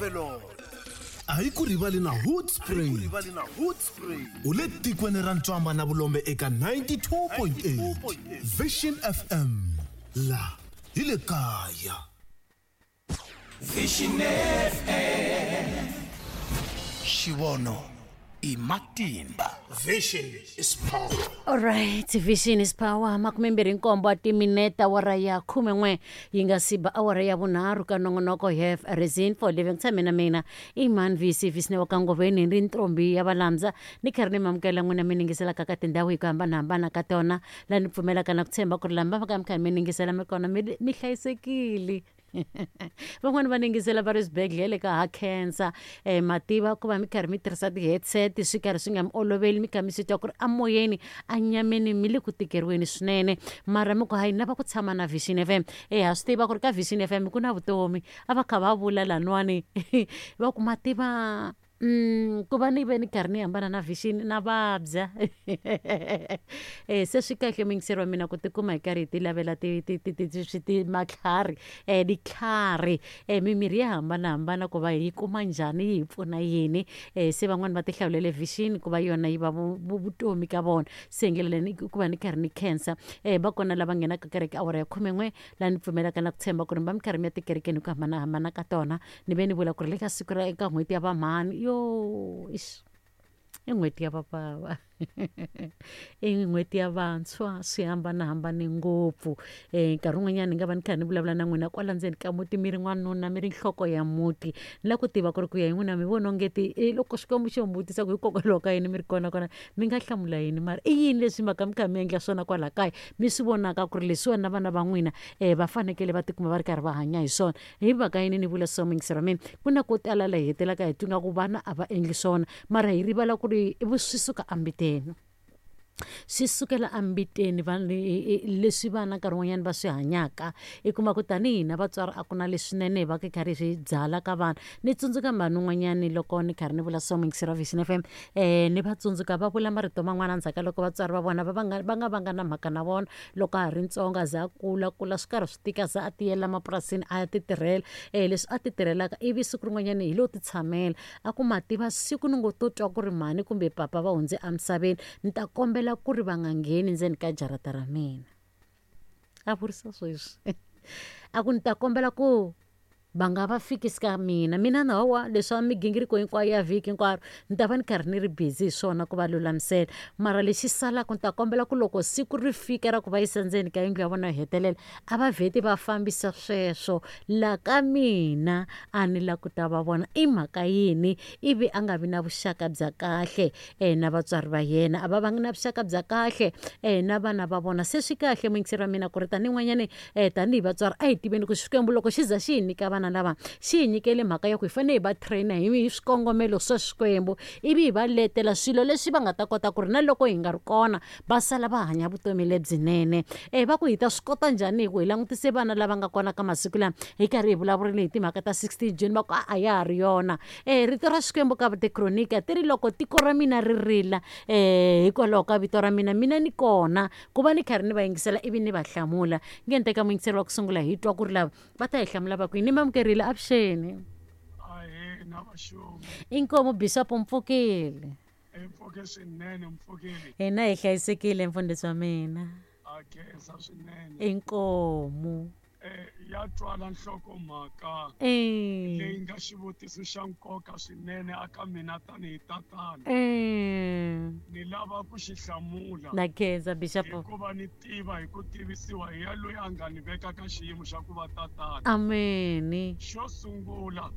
Overload. A yi ku rivali na Hoedspruit. U le tikweni ra ntswamba na vulombe eka 92.8 Vision FM. La hi le kaya. Vision FM. Xivono i matimba. Vision is power. Alright, vision is power. 27 wa timinete awara ya 11 yi nga si ba awara ya vunharhu ka nongonoko have a reason for living. Tshame na mina Iman VC Visne wa Kangoveni ri ntombi ya valandza ni karhi ni mamukela n'wina mi ningiselaka ka tindhawu hi ku hambanahambana ka tona laha ni pfumelaka na ku tshemba ku ri lama va ka mi karhi mi ningisela mi kona mi hlayisekile. Van'wani va ningisela va ri swibedhlele ka ha khensa mativa ku va mi karhi mi tirhisa ti-headset swi karhi swi nga mi oloveli mi kha mi swi twa ku ri amoyeni anyameni mi le ku tikeriweni swinene mara mi ku hayi ni lava ku tshama na Vision FM. Ha swi tiva ku ri ka Vision FM ku na vutomi a va kha va vula laniwani va ku mativa ku va ni ve ni karhi ni hambana na Vision na vabya. Se swi kahle muyingiseri wa mina ku tikuma hi karhi hi ti lavela matlhari ditlhari mimirhi ya hambanahambana ku va hi kuma njhani yi hi pfuna yini. Se van'wani va ti hlawulele Vision ku va yona yi va vutomi ka vona. Se hi ndlela leyi ku va ni karhi ni khensa va kona lava nghenaka kereke awara ya 11 laha ni pfumelaka na ku tshemba ku ri mi va mi karhi mi ya tikerekeni hi ku hambanahambana ka tona. Ni ve ni vula ku ri le ka siku ra eka n'hweti ya vamhani yo ix i n'hweti ya vabava i n'hweti ya vantshwa swi hambanahambane ngopfu. Nkarhi wun'wanyana ni nga va ni kha ni vulavula na n'wina kwala ndzeni ka muti mi ri n'wanuna mi ri nhloko ya muti ni lava ku tiva ku ri ku ya hi n'wina mi vona ongeti loko Xikwembu xo mi vutisa ku hikokwalaho ka yini mi ri kona kona mi nga hlamula yini mara i yini leswi mhaka mi kha mi endla swona kwala kaya mi swi vonaka ku ri leswiwani na vana va n'wina va fanekele va tikuma va ri karhi va hanya hi swona. Hi mhaka yini ni vula so muyingiseri wa mina ku na ko tala laha hi hetelelaka hi twa nga ku vana a va endli swona mara hi rivala ku ri swi suka embiteni. Swi sukela embiteni leswi vana nkarhi wun'wanyana va swi hanyaka i kuma ku tanihi hina vatswari a ku na leswinene hi va hi karhi hi swi byala ka vana. Ni tsundzuka mhani un'wanyani loko ni karhi ni vula so muyingiseri wa Vision FM ni va tsundzuka va vula marito man'wana endzhaku ka loko vatswari va vona va va nga vanga na mhaka na vona loko a ha ri ntsongo a za a kula kula swi karhi swi tika za a tiyela mapurasini a ya ti tirhela leswi a ti tirhelaka ivi siku rin'wanyana hi lo ti tshamela a ku ma tiva siku ni ngo to twa ku ri mhani kumbe papa va hundze emisaveni ni ta kombela ku ri va nga ngheni ndzeni ka jarata ra mina. A vurisa sweswi a ku ni ta kombela ku va nga va fikisi ka mina mina na hawa leswa migingiriko hinkwayo ya vhiki hinkwaro ni ta va ni karhi ni ri busy hi swona ku va lulamisela mara lexi salaka ni ta kombela ku loko siku ri fika ra ku va yisa ndzeni ka yindlu ya vona yo hetelela a va vheti va fambisa sweswo la ka mina a ni la ku ta va vona i mhaka yini ivi a nga vi na vuxaka bya kahle na vatswari va yena a va vangi na vuxaka bya kahle na vana va vona. Se swi kahle muyingiseri wa mina ku ri tanihi tanihi vatswari a hi tiveni ku Xikwembu loko xi za xi hi nyika vana lava xi hi nyikele mhaka ya ku hi fanele hi va trainer hi swikongomelo swa Xikwembu ivi hi va letela swilo leswi va nga ta kota ku ri na loko hi nga ri kona va sala va hanya vutomi lebyinene. Va ku hi ta swi kota njhani hi ku hi langutise vana lava nga kona ka masiku lama hi karhi hi vulavurile hi timhaka ta 16 June va ku a ya ha ri yona. Rito ra Xikwembu ka Tikronika ti ri loko tiko ra mina ri rila hikwalaho ka vito ra mina mina ni kona ku va ni karhi ni va yingisela ivi ni va hlamula. Nge ni teka muyingiseri wa ku sungula hi twa ku ri lava va ta hi hlamula va ku yini. Ni mamukerile avuxeni. Inkomu Bishop mpfukile. Mpfuke swinene mpfukile. Hina hi hlayisekile mfundhisi wa mina. A khensa swinene. Inkomu. Ya twala nhlokomhaka leyi nga xivutiso xa nkoka swinene aka mina tanihi tatana. Ni lava ku xi hlamula. Na khensa Bishop. Hikuva ni tiva hi ku tivisiwa hi ya loyi a nga ni veka ka xiyimo xa ku va tatana. Amen. Xo sungula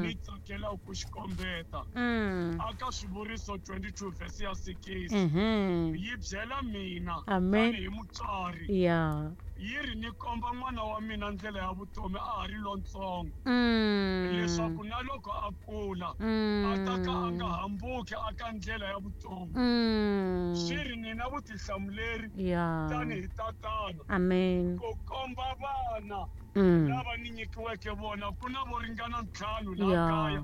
ni tsakela ku xi kombeta aka Swivuriso 22 verse ya 6 yi byela mina tanihi mutswari. Yi ri ni komba n'wana wa mina ndlela ya vutomi a ha ri lontsongo leswaku na loko a kula a ta ka a nga hambuki aka ndlela ya vutomi. Swi ri ni na vutihlamuleri tanihi tatana Amen. ku komba vana lava ni nyikiweke vona ku na vo ringana 5 laha kaya.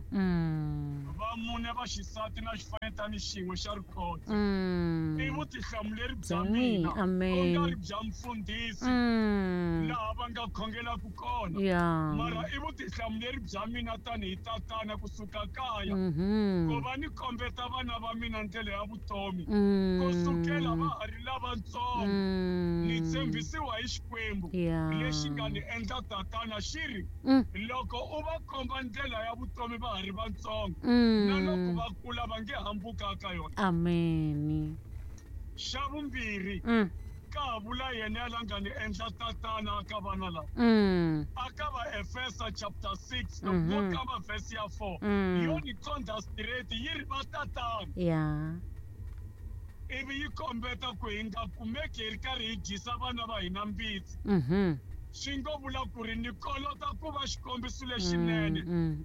Va mune va xisati na xifanyetana xin'we xa rikotse. I vutihlamuleri bya mina ku nga ri bya mfundhisi laha va nga khongelaka kona. Mara i vutihlamuleri bya mina tanihi tatana kusuka kaya ku va ni kombeta vana va mina ndlela ya vutomi kusukela va ha ri lavatsongo. Ni tshembisiwa hi Xikwembu lexi nga ni endla tatana xi ri loko u va komba ndlela ya vutomi va ha ri vatsongo na loko va kula va nge hambuka ka yona. Amen. Xa vumbirhi ka vula yena la nga ni endla tatana ka vana lava. Aka va Efesa chapter 6 loko ka va verse ya 4 yo ni qondha straight yi ri va tatana. Ivi yi kombeta ku hi nga kumeki hi ri karhi hi dyisa vana va hina mbitsi. Swi ngo vula ku ri ni kolota ku va xikombiso lexinene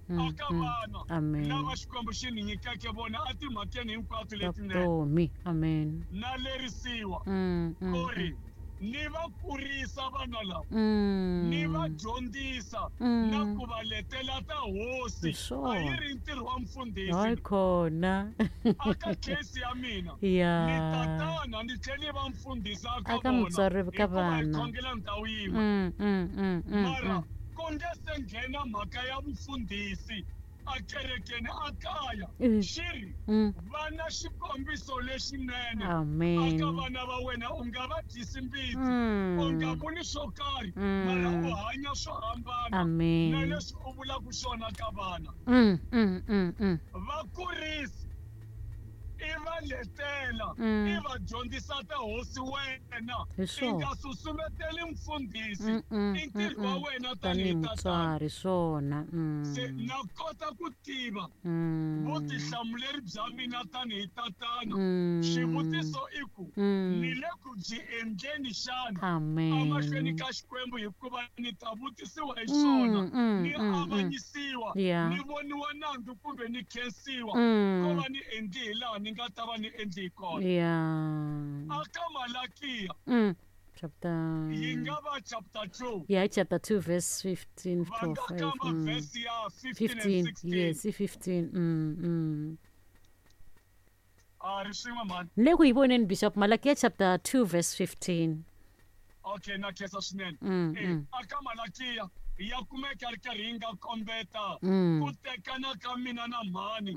aka vana lava Xikwembu xi ni nyikeke vona etimhakeni hinkwato letinene. Amen. Na lerisiwa ku ri ni va kurisa vana lava, ni va dyondzisa na ku va letela ta hosi. A yi ri ntirho wa mfundhisi. Hayi khona. Aka case ya mina ni tatana ni tlhela ni va mfundhisi aka mutswari ka vana. Khongela ndhawu yin'we. Mara ku nge se nghena mhaka ya vufundhisi a kerekeni a kaya xi ri vana xikombiso lexinene aka vana va wena. U nga va dyisi mbitsi, u nga vuli swo karhi, mara u hanya swo hambana na leswi u vulaka swona ka vana. Va kurisi, i va letela, i va dyondzisa ta hosi wena. I nga susumeteli mfundhisi, i ntirho wa wena tanihi mutswari swona. Se na kota ku tiva vutihlamuleri bya mina tanihi tatana. Xivutiso i ku ni le ku byi endleni xana emahlweni ka Xikwembu, hikuva ni ta vutisiwa hi swona, ni avanyisiwa, ni voniwa nandzu kumbe ni khensiwa ko va ni endli hi laha ni nga ta va ni endli hi kona. Aka Malakiya chapter yi nga va chapter 2. Yeah, chapter 2 verse 15 to 5. Verse ya 15 and 16. Yes, 15. Ri swin'we mhani. Le ku yi voneni Bishop Malakiya chapter 2 verse 15. Okay, na khensa swinene. Aka Malakiya ya kumeka ri karhi yi nga kombeta ku tekana ka mina na mhani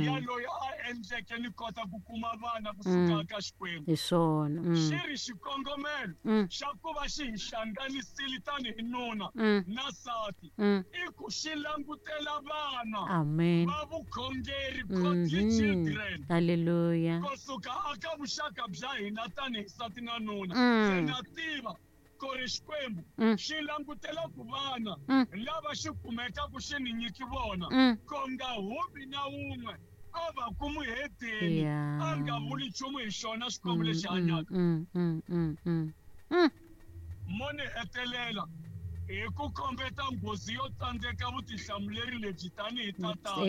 ya loyi a endleke ni kota ku kuma vana kusuka ka Xikwembu. Hi swona. Xi ri xikongomelo xa ku va xi hi hlanganisile tanihi nuna na nsati i ku xi langutela vana va vukhongeri, godly children. Hallelujah. Kusuka aka vuxaka bya hina tanihi nsati na nuna. Se na tiva ku ri Xikwembu xi langutela ku vana lava xi kumekaka xi ni nyiki vona ku nga humi na wun'we a va ku muhedeni a nga vuli nchumu hi xona Xikwembu lexi hanyaka. Mo ni hetelela hi ku kombeta nghozi yo tsandzeka vutihlamuleri lebyi tanihi tatana.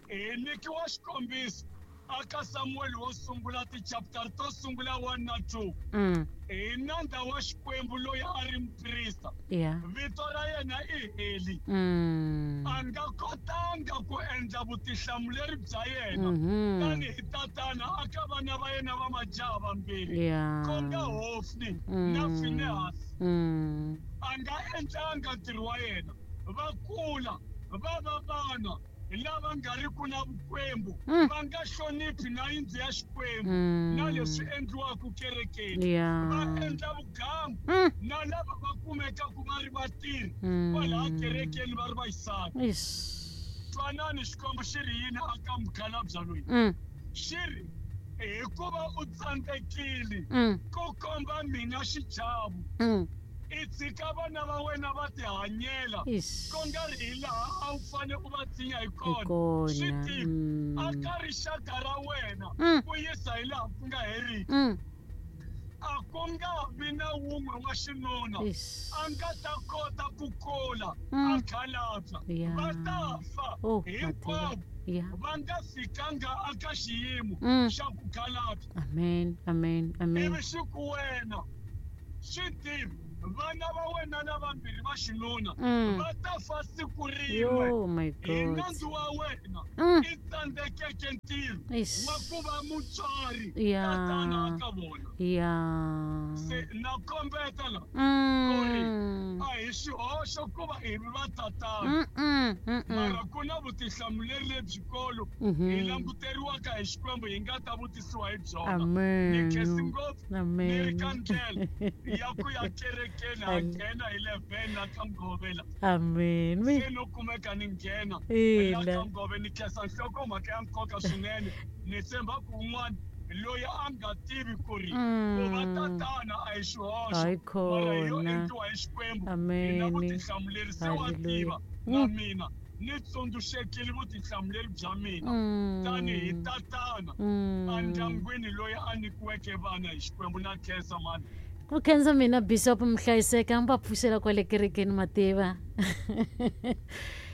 Hi nyikiwa xikombiso aka Samuel wo sungula ti-chapter to sungula 1 na 2. Hi nandza wa Xikwembu loyi a ri muprista. Vito ra yena i Heli. A nga kotanga ku endla vutihlamuleri bya yena tanihi tatana aka vana va yena va majaha vambirhi, ku nga Hofni na Finehasi. A nga endlanga ntirho wa yena. Va kula va va vana lava nga ri ku na vukwembu, va nga hloniphi na yindlu ya Xikwembu na leswi endliwaka kerekeni. Va endla vugangu na lava va kumekaka va ri vatirhi kwalaha kerekeni va ri vaxisati. Twanani Xikwembu xi ri yini aka mukhalabye loyi. Xi ri hikuva u tsandzekile ku komba mina xichavo, i tshika vana va wena va tihanyela ku nga ri hi laha a wu fanele u va tshinya hi kona. Swi tiva aka rixaka ra wena ku yisa hi laha ku nga heriki. A ku nga vi na wun'we wa xinuna a nga ta kota ku kula a khalabya. Va ta fa hinkwavo va nga fikanga aka xiyimo xa ku khalabya. Amen, amen, amen. Ivi xi ku wena swi tivi Vana va wena lavambirhi va xinuna va ta fa siku rin'we. Oh my Hi God. nandzu wa wena i tsandzekeke ntirho Eish. wa ku va mutswari Ya. tatana ka vona. Ya. Se na kombeta la ku ri a hi xihoxo ku va hi va tatana, mara ku na vutihlamuleri lebyikulu hi languteriwaka hi Xikwembu, hi nga ta vutisiwa hi byona. Ni Amen. khensi ngopfu, ni ri ka Amen. ndlela ya ku ya kerekeni, ha nghena hi 11 la ka Mugove la. Amen. Se no kumeka ni nghena la Ina. ka Mugove. Ni khensa nhlokomhaka ya nkoka swinene. Ni tshemba ku un'wana loyi a nga tivi ku ri ku va tatana a hi xihoxo, Hayi mara hi yo khona. endliwa hi Xikwembu, hi na Amen. vutihlamuleri, se wa Hallelujah. tiva. Na mina ni tsundzuxekile vutihlamuleri bya mina tanihi tatana endyangwini loyi a nyikiweke vana hi Xikwembu. Na khensa mani. Ku khensa mina, Bishop. Mihlayiseka, mi va pfuxela kwale kerekeni mativa.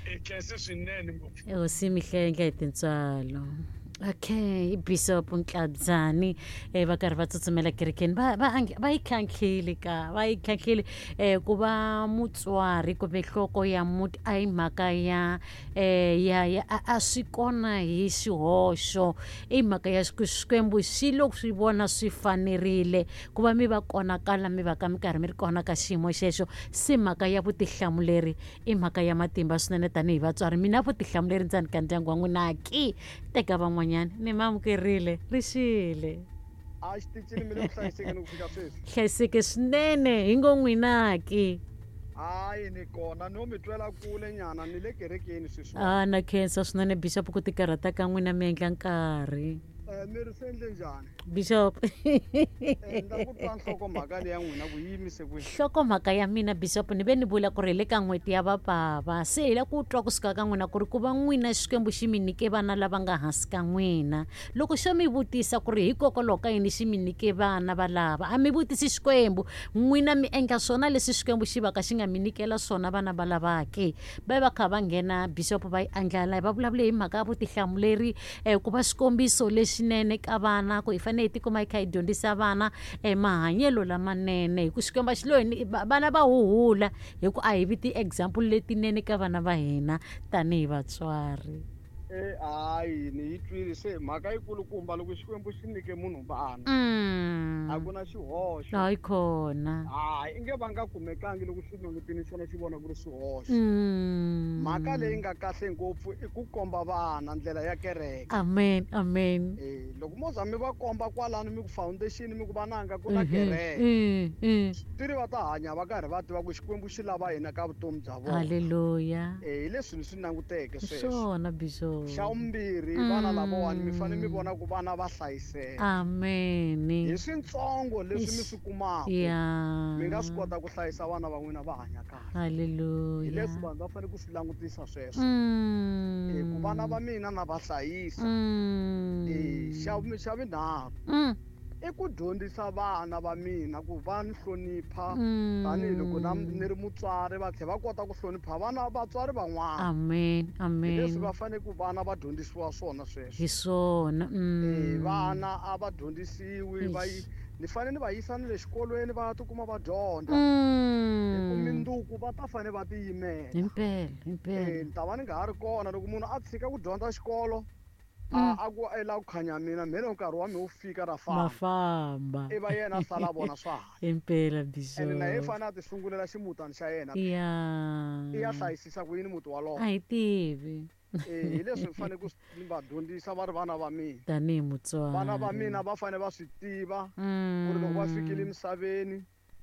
I khense swinene ngopfu. Hosi mi hlenga hi tintswalo. Okay, i Bishop Ntladzani. Va karhi va tsutsumela kerekeni, va yi khankhile ka va yi khankhile. Ku va mutswari kumbe nhloko ya muti a hi mhaka ya ya ya a swi kona hi xihoxo, i mhaka ya ku Xikwembu xi lo swi vona swi fanerile ku va mi va kona kala mi va ka mi karhi mi ri kona ka xiyimo xexo. Se mhaka ya vutihlamuleri i mhaka ya matimba swinene tanihi vatswari. Mina vutihlamuleri ndzani ka ndyangu wa n'wina ki teka van'wanyana ni ma amukerile ri xile. A xitichini mi le ku hlayisekeni ku fika sweswi? Hlayiseke swinene, hi ngo n'wina ki? Hayi, ni kona, no mi twela kule nyana, ni le kerekeni sweswi. A na khensa swinene, Bishop, ku tikarhata ka n'wina mi endla nkarhi. Mi ri swi endle njhani? Bishop. Ni ta ku twa nhlokomhaka leya n'wina ku yi yimise kwihi. Nhlokomhaka ya mina, Bishop, ni ve ni vula ku ri hi le ka n'hweti ya vabava, se hi la ku twa kusuka ka n'wina ku ri ku va n'wina Xikwembu xi mi nyike vana lava nga hansi ka n'wina, loko xo mi vutisa ku ri hikokwalaho ka yini xi mi nyike vana valava, a mi vutisi Xikwembu, n'wina mi endla swona leswi Xikwembu xi va ka xi nga mi nyikela swona vana va lavake. Va va kha va nghena, Bishop, va yi andlala, va vulavule hi mhaka ya vutihlamuleri, ku va xikombiso lexinene ka vana, ku hi fanele hi tikuma hi kha hi dyondzisa vana mahanyelo lamanene, hi ku Xikwembu a xi lo hi vana va huhula hi ku a hi vi ti-example letinene ka vana va hina tanihi vatswari. Hayi, ni yi twile. Se mhaka yikulukumba, loko Xikwembu xi nyike munhu vana, a ku na xihoxo. Hayi khona. Hayi, i nge va nga kumekangi loko swi langutini xona xi vona ku ri swihoxo. Mhaka leyi nga kahle ngopfu i ku komba vana ndlela ya kereke. Amen, amen. Loko mo za mi va komba kwalano, mi ku foundation, mi ku vananga ku na kereke, tiri va ta hanya va karhi va tiva ku Xikwembu xi lava hina ka vutomi bya vona. Halleluya. Hi leswi ni swi languteke sweswo. Swona, Bishop. Xa vumbirhi, vana lavawani mi fanele mi vona ku vana va hlayiseka. Amen. Hi swintsongo leswi mi swi kumaka, mi nga swi kota ku hlayisa vana va n'wina va hanya kahle. Halleluya. Hi leswi vanhu va fanele ku swi langutisa sweswo. Ku vana va mina na va hlayisa. Xa vunharhu i ku dyondzisa vana va mina ku va ni hlonipha tanihiloko na ni ri mutswari, va tlhela va kota ku hlonipha vana vatswari van'wana. Amen, amen. Hi leswi va fanele ku vana va dyondzisiwa swona sweswo. Hi swona. Vana a va dyondzisiwi, va ni fanele ni va yisa ni le xikolweni va tikuma va dyondza. Hi ku minduku va ta fanele va tiyimela. Himpela, himpela. Ni ta va ni nga ha ri kona loko munhu a tshika ku dyondza xikolo, a ku i lava ku khanya mina, mhe loko nkarhi wa mina wu fika ra famba. Mafamba. I va yena a sala vona swa ha. Himpela, Bishop. Ene na yena fanele a ti sungulela ximutana xa yena. Ya. I ya hlayisisa ku yini muti walowo. A hi tivi. Hi leswi ni fanele ku va dyondzisa va ri vana va mina. Tanihi mutswari. Vana va mina va fanele va swi tiva ku ri loko va fikile emisaveni,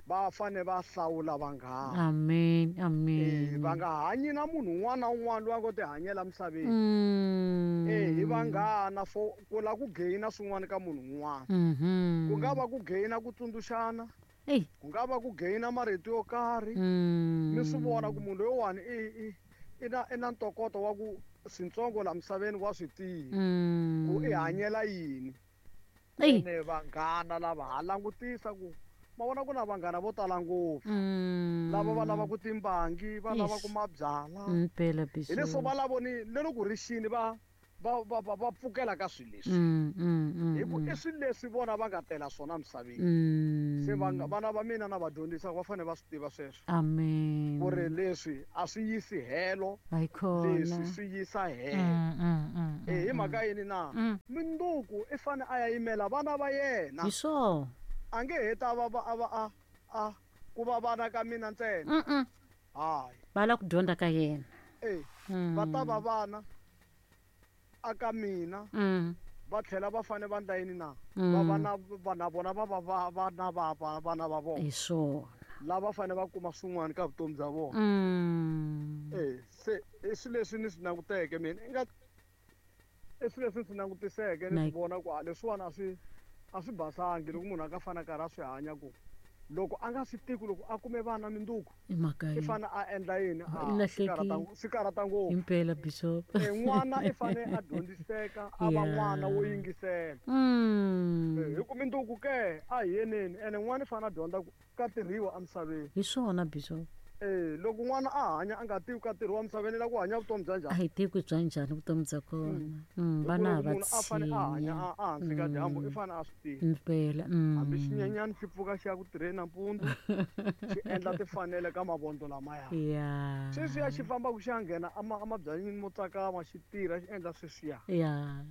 va fanele va hlawula vanghana. Amen, amen. Va nga hanyi na munhu un'wana na un'wana loyi a ngo tihanyela emisaveni. Hi vanghana for ku lava ku gain-a swin'wana ka munhu un'wana. Ku nga va ku gain-a ku tsundzuxana, ku nga va ku gain-a marito yo karhi. Mi swi vona ku munhu loyiwani i na ntokoto wa ku swintsongo laha misaveni wa swi tiva ku i hanyela yini. Ene vanghana lava ha langutisa ku ma vona ku na vanghana vo tala ngopfu lava va lava ku timbangi, va lava ku mabyala. Mpela, Bishop. Hi leswo va lavo ni le loko ri xini va Va pfukela ka swilo leswi. Hi ku i swilo leswi vona va nga tela swona misaveni. Se vana va mina na va dyondzisa va fanele va swi tiva sweswo. Amen. Ku ri leswi a swi yisi helo. Leswi swi yisa helo. Hi mhaka yini na? Minduku i fane a ya yimela vana va yena. Hi swona. A nge heta va a ku va vana ka mina ntsena. Hayi. Va lava ku dyondza ka yena. Va ta va vana aka mina. Va tlhela va fane va ndla yini na? Va vana vana vona va va vana va vana va vona. Hi swona. Lava fane va kuma swin'wana ka vutomi bya vona. Se i swilo leswi ni swi languteke mina. I nga i swilo leswi ni swi langutiseke ni swi vona ku leswiwani a swi basangi loko munhu a nga fana karhi a swi hanya ku loko a nga swi tivi loko a kume vana minduku i fane a endla yini swi karhata ngopfu impela bishop n'wana i fane a dyondziseka a va n'wana wo yingisela hi ku minduku ke a hi yeneni ene n'wana i fane a dyondza ku ka tirhiwa emisaveni hi swona bishop loko n'wana a hanya a nga tivi ka tirhiwa emisaveni la ku hanya vutomi bya njhani a hi tivi ku bya njhani vutomi bya kona vana va a fane a hanya a hansi ka dyambu i fane a swi tiva impela hambi xinyenyani xi pfuka xi ya ku tirheni nampundzu xi endla tifanele ka mavondzo lamaya sweswiya xi fambaka xi ya nghena emabyanyini mo tsakama xi tirha xi endla sweswiya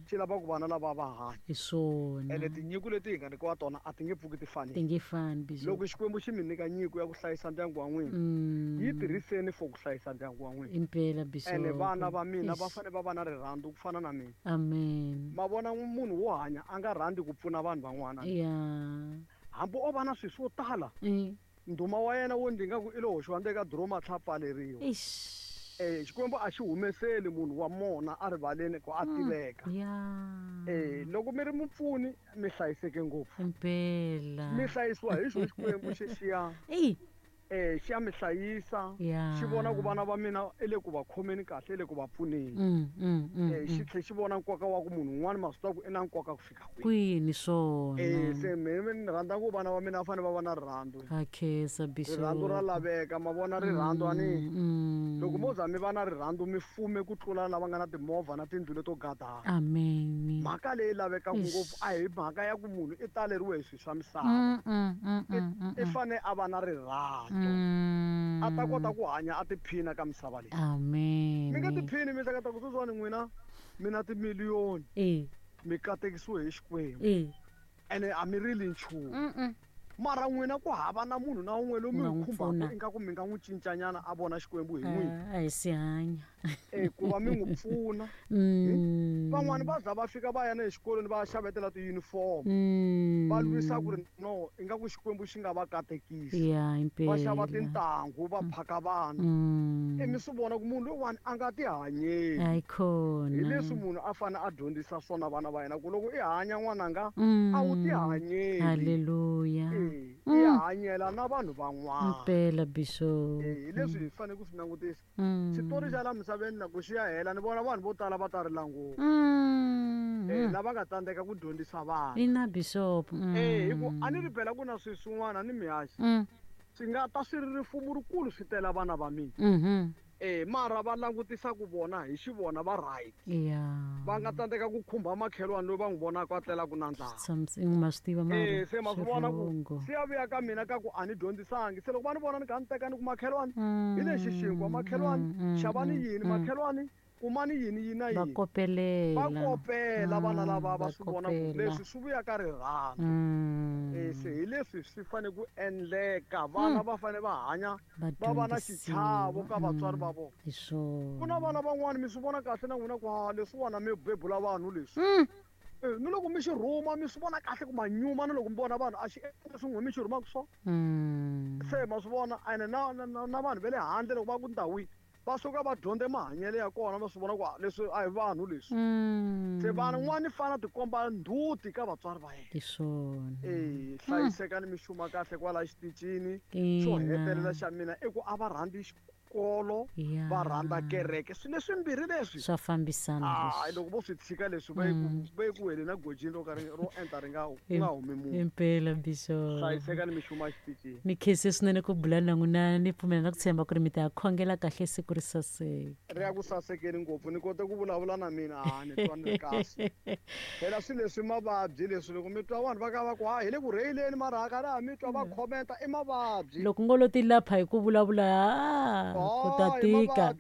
xi lava ku vana lava va hanya hi swona ene tinyiko leti hi nga nyikiwa tona a ti nge pfuki ti fanile ti nge fani bishop loko Xikwembu xi mi nyika nyiko ya ku hlayisa ndyangu wa n'wina yi tirhiseni for ku hlayisa ndyangu wa n'wina impela bishop ene vana va mina va fanele va va na rirhandzu ku fana na mina amen ma vona munhu wo hanya a nga rhandzi ku pfuna vanhu van'wana hambi o va na swilo swo tala ndhuma wa yena wo ndzi nga ku i lo hoxiwa ndzeni ka diromu a tlhela pfaleriwa Xikwembu a xi humeseli munhu wa mona a rivaleni ku a tiveka loko mi ri mupfuni mi hlayiseke ngopfu impela mi hlayisiwa hi xo Xikwembu xexiya xi ya mi hlayisa xi vona ku vana va mina i le ku va khomeni kahle i le ku va pfuneni xi tlhe xi vona nkoka wa ku munhu un'wana ma swi tiva ku i na nkoka ku fika kwini swona se mina ni rhandza ku vana va mina va fanele va va na rirhandzu ha khensa bishop rirhandzu ra laveka ma vona rirhandzu a ni loko mo za mi va na rirhandzu mi fume ku tlula lava nga na timovha na tindlu leto gadana amen mhaka leyi lavekaka ngopfu a hi mhaka ya ku munhu i taleriwe hi swilo swa misava i fane a va na rirhandzu a ta kota ku hanya a tiphina ka misava leyi amen mi nga tiphini mi hleketa ku sweswiwani n'wina mi na timiliyoni mi katekisiwe hi Xikwembu ene a mi rili nchumu mara n'wina ku hava na munhu na un'we loyi mi n'wi khumbaka ingaku mi nga n'wi cincanyana a vona Xikwembu hi n'wina a hi si hanya ku va mi n'wi pfuna van'wani va za va fika va ya na exikolweni va xavetela ti-uniform va lwisa ku ri no ingaku Xikwembu xi nga va katekisa va xava tintangu va phaka vana mi swi vona ku munhu loyiwani a nga tihanyeli hi leswi munhu a fanele a dyondzisa swona vana va yena ku loko i hanya n'wananga a wu tihanyeli haleluya i hanyela na vanhu van'wana impela bishop hi leswi hi fanele ku swi langutisa xitori xa la misaveni loko xi ya hela ni vona vanhu vo tala va ta rila ngopfu lava nga tsandzeka ku dyondzisa vanhu ina bishop hi ku a ni ri phela ku na swilo swin'wana ni mihaxi swi nga ta swi ri rifumo rikulu swi tela vana va mina mara va langutisa ku vona hi xivona va right va nga tsandzeka ku khumba makhelwani loyi va n'wi vonaka a tlelaka na ndlala ma swi tiva mara se ma swi vona ku swi ya vuya ka mina ka ku a ni dyondzisangi se loko va ni vona ni kha ni teka ni ku makhelwani hi lexi xinkwa makhelwani xavani yini makhelwani kumani yini yini na yini va kopela vana lava va swi vona ku leswi swi vuya ka rirhandzu se hi leswi swi fanele ku endleka vana va fanele va hanya va va na xichavo ka vatswari va vona ku na vana van'wani mi swi vona kahle na n'wina ku ha leswiwani mi bebula vanhu leswi ni loko mi xi rhuma mi swi vona kahle ku manyuma na loko mi vona vanhu a xi endla swin'we mi xi rhumaka swona se ma swi vona ene na vanhu va le handle loko va ku ndhawini va suka va dyondze mahanyelo ya kona va swi vona ku leswi a hi vanhu leswi se vanhu n'wana fana tikomba ndzhuti ka vatswari va yena hi swona hlayisekani mi xuma kahle kwala xitichini xo hetelela xa mina i ku a va rhandzi xikolo, va rhandza kereke. Swilo leswimbirhi leswi swa fambisana. Loko vo swi tshika leswi va ye ku heleni gojini ro ka ro enta ri nga humi munhu. Impela Bishop. Hlayiseka ni mixuma exitichini. Ni khense swinene ku bula na n'wina, ni pfumela na ku tshemba ku ri mi ta ya khongela kahle siku ri saseka. Ri ya ku sasekeni ngopfu, ni kote ku vulavula na mina, ni twa ni ri kahle. Phela swilo leswi mavabyi leswi loko mi twa vanhu va ka va ku ha hi le ku rheyileni mara hakana mi twa va commenta i mavabyi. Loko ngo lo ti lapha hi ku vulavula ku ta tika.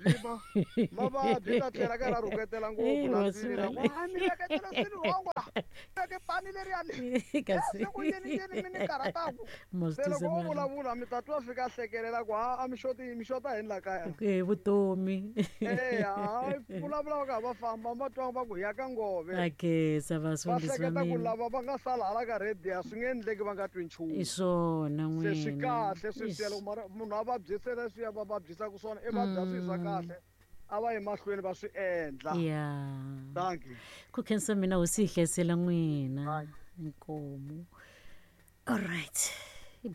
Mavabyi ta tlhela ka ra rhuketela ngopfu la swilo la. Mi veketela swilo wrong la. Veke pani leriya le. Kasi ku yini yini mi ni karhataku. Se loko u vulavula mi ta twa fika hlekelela ku a mi xoti mi xota yini la kaya. Vutomi. Vulavula va ka va famba va twa va ku ya ka ngove. Akesa vasundisi va mina. Ku lava va nga sala hala ka radio swi nge endleki va nga twi nchumu. I swona n'wina. Se swi kahle sweswiya loko mara munhu a vabyisela leswiya va vabyisaka swona i vabya swilo swa kahle. A va yi mahlweni va swi endla. Yeah. Thank you. Ku khensa mina hosi yi hlayisela n'wina. Inkomu. All right.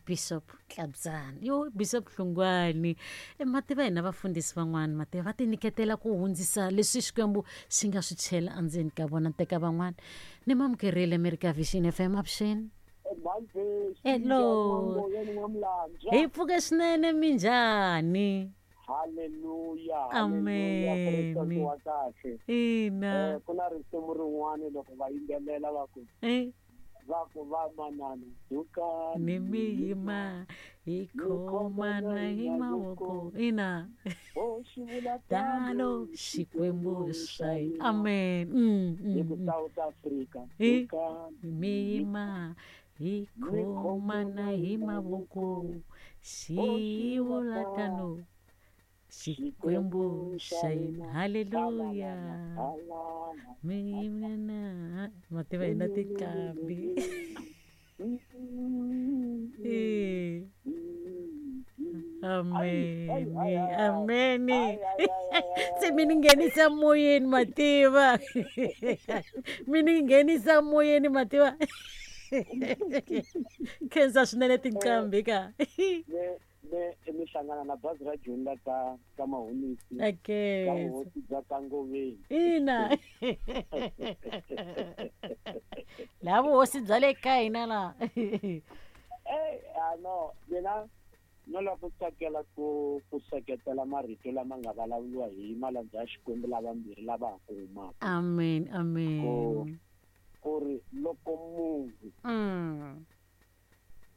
Bishop Tlabzani. Yo Bishop Hlungwani. Mativa hina vafundhisi van'wana mativa va tinyiketela ku hundzisa leswi Xikwembu xi nga swi chela endzeni ka vona teka van'wana. Ni mamukerile America Vision FM avuxeni. Hello. Hi pfuke swinene minjhani? Hallelujah. Amen. Wa kahle. Ina. Ku na risimu rin'wana loko va yimbelela va ku va ku va manana duka ni miyima hi khomana hi mavoko. Ina. Tano Xikwembu xa hina. Amen. Hi ku South Africa. Duka miyima hi khomana hi mavoko. Xi vula tano Xikwembu xa hina. Hallelujah. Mina mativa hina tinqambi. Amen. Amen. Se mi ni nghenisa moyeni mativa. Mi ni nghenisa moyeni mativa. Khensa swinene tinqambi ka. Mi hlangana na bazi ra Joni la ka Mahunisi. Okay. Ka vuhosi bya ka Ngoveni. Ina. La vuhosi bya le ka hina la. No, mina no lava ku tsakela ku seketela marito lama nga vulavuriwa hi malandza ya Xikwembu lavambirhi lava ha ku humaka. Amen, amen. Ku ri loko munhu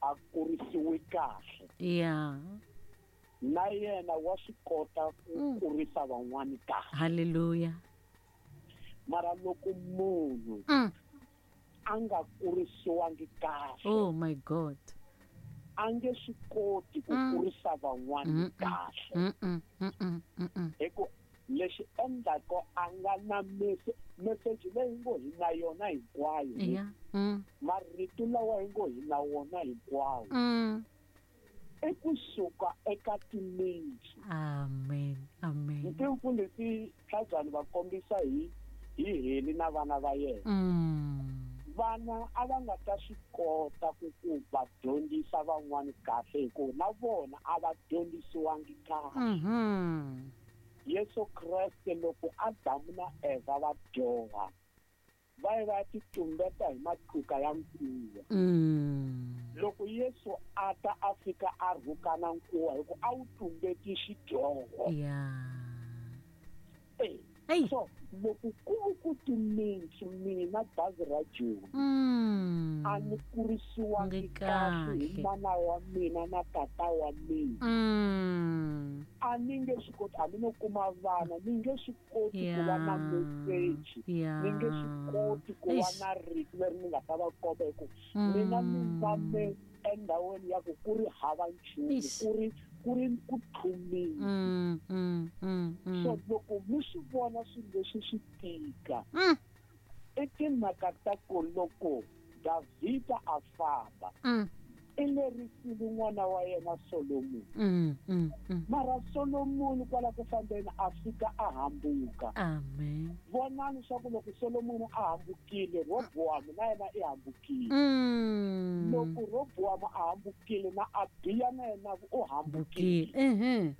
a kurisiwe kahle. Yeah. Na yena wa swi kota ku kurisa van'wani kahle. Hallelujah. Mara loko munhu a nga kurisiwangi kahle. Oh my God. A nge swi koti ku kurisa van'wani kahle. Hi ku lexi endlaka a nga na message leyi ngo hi na yona hinkwayo. Yeah. Marito lawa hi ngo hi na wona hinkwawo. I kusuka eka timitsu. Amen. Amen. Mfundhisi Tlabzani va kombisa hi Heli na vana va yena. Vana a va nga ta swi kota ku va dyondzisa van'wani kahle hikuva na vona a va dyondzisiwangi kahle. Yesu Kreste loko Adamu na Eva va dyoha va ye va titumbeta hi matluka ya nkuwa. Loko Yesu a ta a fika a rhukana nkuwa hi ku a wu tumbeti xidyoho. So loko ku ku timitsu mina bazi ra Joni a ni kurisiwangi kahle hi mana wa mina na tata wa mina. A ni nge swi koti, hambi no kuma vana ni nge swi koti ku va na message, ni nge swi koti ku va na rito leri ni nga ta va komba hi ku mina ni tshame endhawini ya ku ku ri hava nchumu, ku ri ku tlhumile. So loko mi swi vona swilo leswi swi tika, i timhaka ta ku loko Davhida a famba i lerisile n'wana wa yena Solomoni. Mara Solomoni kwala ku fambeni a fika a hambuka. Amen. Vonani swa ku loko Solomoni a hambukile, Roboamu na yena i hambukile. Loko Roboamu a hambukile na Abiya na yena u hambukile.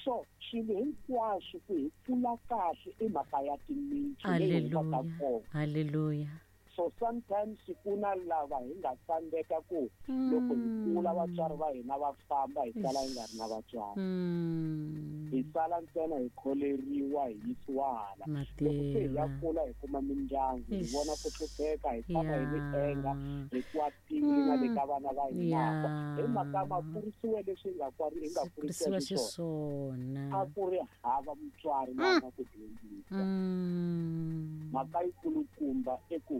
So swilo hinkwaswo ku hi kula kahle i mhaka ya timitsu leyi humaka Haleluya. kona. Haleluya. So sometimes ku na lava hi nga tsandzeka ku loko hi kula vatswari va hina va famba, hi sala hi nga ri na vatswari. Hi sala ntsena hi kholeriwa, hi yisiwa hala. Loko se hi ya Mativa. kula, hi kuma mindyangu, hi vona ku hlupheka, hi tshama hi ri enga, hi kwatile na le ka vana va hina. Hi mhaka ma kurisiwe leswi hi nga hi nga kurisiwa Kurisiwa xiswona. xiswona. A ku ri hava mutswari loyi a nga ku dyondzisa. Mhaka yikulukumba i ku